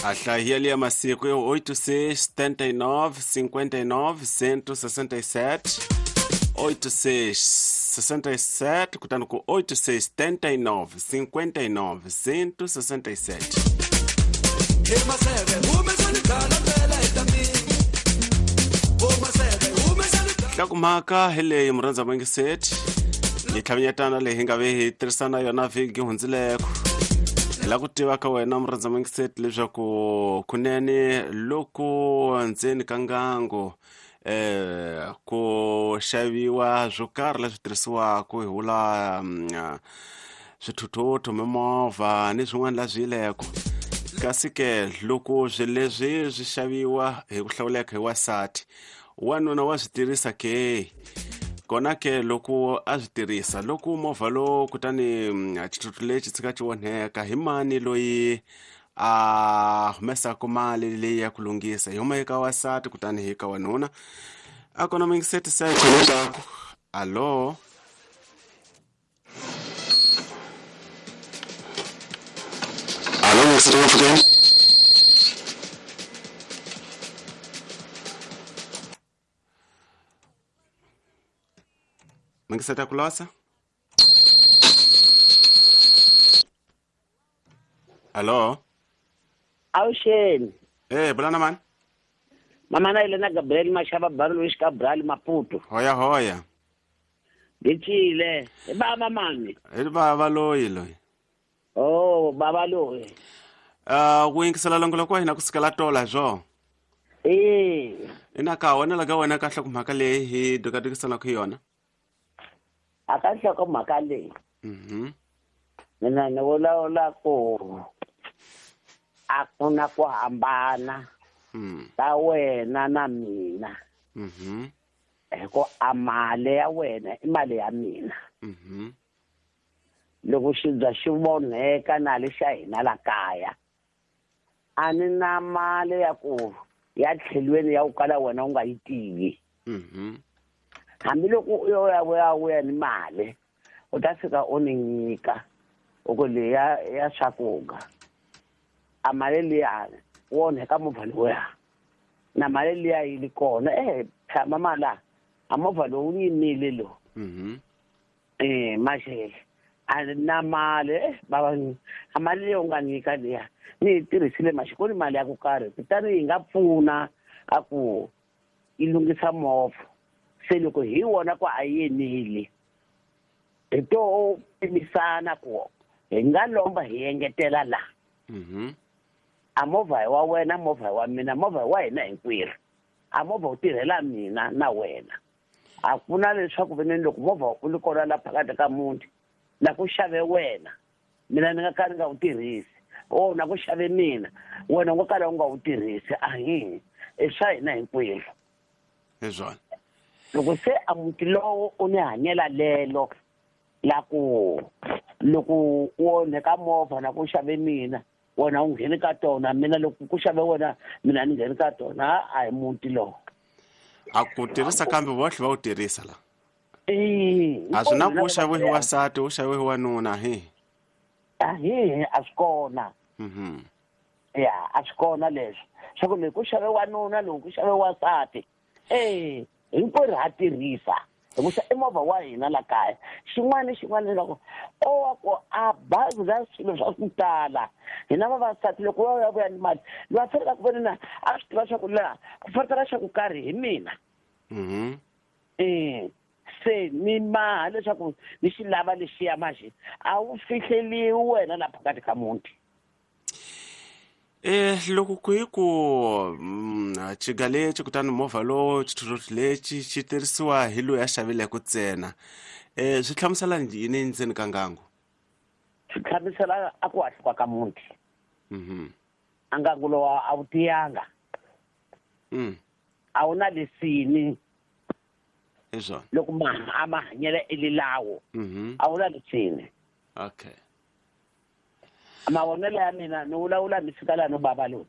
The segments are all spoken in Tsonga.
A hlahia liya masiku yo 86 79 59 167 86 67 kutani ku 86 79 59 167. Nhlokomhaka hi leyi murhandza vangiseti yi tlhavinyetana leyi hi nga ve hi tirhisana yona vhiki hundzileko. Hi lava ku tiva ka wena murhandza vangiseti leswaku kunene loko ndzeni ka ngango ku xaviwa swo karhi leswi tirhisiwaka hi vula swithuthuthu, mimovha ni swin'wana la swi yileko, kasi ke loko swilo leswi swi xaviwa hi ku hlawuleka hi wansati, wanuna wa swi tirhisa ke? Kona ke loko a swi tirhisa, loko movha lowu kutani xithuthuthu lexi tshika xi onheka, hi mani loyi a humesaka mali leyi ya ku lunghisa? Yi huma eka wansati kutani hi ka wanuna. A kona mingiseti se leswaku alo alo mingiseti wa pfukeni. Mingiseti ya ku losa. Alo. Awuxeni. Bulana mani? Mama na Elena Gabriel Mashaba Barolo Xikabral Maputo. Hoya hoya. Ngicile. Baba mani? Hi baba loyi loyi. Oh, baba loyi. Ku yingisela longoloko wa hina ku sukela tola zwo. Ina ka wena la ka wena kahle ku mhaka leyi hi dukadukisana ku yona. A ka nhloko mhaka leyi. Mina ni vulavula ku a ku na ku hambana ka wena na mina. Hi ku a mali ya wena i mali ya mina. Loko xibya xi vonheka na le xa hina la kaya, a ni na mali ya ku ya tlhelweni ya ku kala wena u nga yi tivi. Hambiloko u yo ya vuya vuya ni mali, u ta fika u ni nyika u ku leyi ya swakudya. A mali liya wu onheka movha lowuya, na mali liya yi ri kona. Tshama mala a movha lowu wu yimile lowu. Maxele a na mali baba, a mali leyi u nga nyika liya ni yi tirhisile maxi, ku ni mali ya ku karhi, kutani yi nga pfuna a ku yi lunghisa movha. Se loko hi vona ku a yi eneli, hi to pimisana ku hi nga lomba hi engetela la. A movha hi wa wena, movha hi wa mina, movha hi wa hina hinkwerhu. A movha wu tirhela mina na wena. A ku na leswaku veneni loko movha wu ri kona la phakathi ka muti, na ku xave wena, mina ni nga ka ni nga wu tirhisi. O na ku xave mina, wena u nga kala u nga wu tirhisi. Ahi, i swa hina hinkwerhu. Hi swona. Loko se a muti lowo u ni hanyela lelo la ku loko u onheka movha na ku xave mina, wena u ngheni ka tona, mina loko ku xave wena mina ni ngheni ka tona, a hi muti lowo. A ku tirhisa kambe vohle va wu tirhisa la. A swi na ku xaviwe hi wansati, u xaviwe hi wanuna, hi. Ahi, a swi kona. Ya, a swi kona leswi. Swa ku loko ku xave wanuna, loko ku xave wansati, hinkwerhu ha tirhisa. Hikusa i movha wa hina la kaya. Xin'wana ni xin'wana loko o wa ku a bazi la swilo swa ku tala. Hina vavasati loko va ya vuya ni mali, va fanele ku vona na a swi tiva swa ku laha ku fanele swa ku karhi hi mina. Se ni maha leswaku ni xi lava lexiya maxi, a wu fihleliwi wena la phakathi ka muti. Loko ku hi ku xiga lexi kutani movha lowu xithuthuthu lexi xi tirhisiwa hi loyi a xavileke ntsena, swi hlamusela yini ndzeni ka ngangu? Swi hlamusela a ku hahluka ka muti. A ngangu lowu a wu tiyanga. A wu na lesini. Hi swona. Loko a mahanyelo i lilawo, a wu na lesini. Okay. Mavonelo ya mina ni vulavula mi fika laha no baba loyi.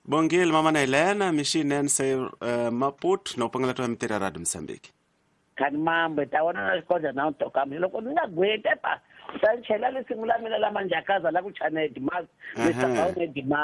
Bongile mama na Helena mixinene se Maputo na u pangela twa mitirho ya Radio Mozambique. Khani mambo ta wona na xikodla na utoka mi loko ni nga gwete pa u ta ni chela lisimu la mina la manjakaza la ku chana Dimas, Mr. Brown Dimas.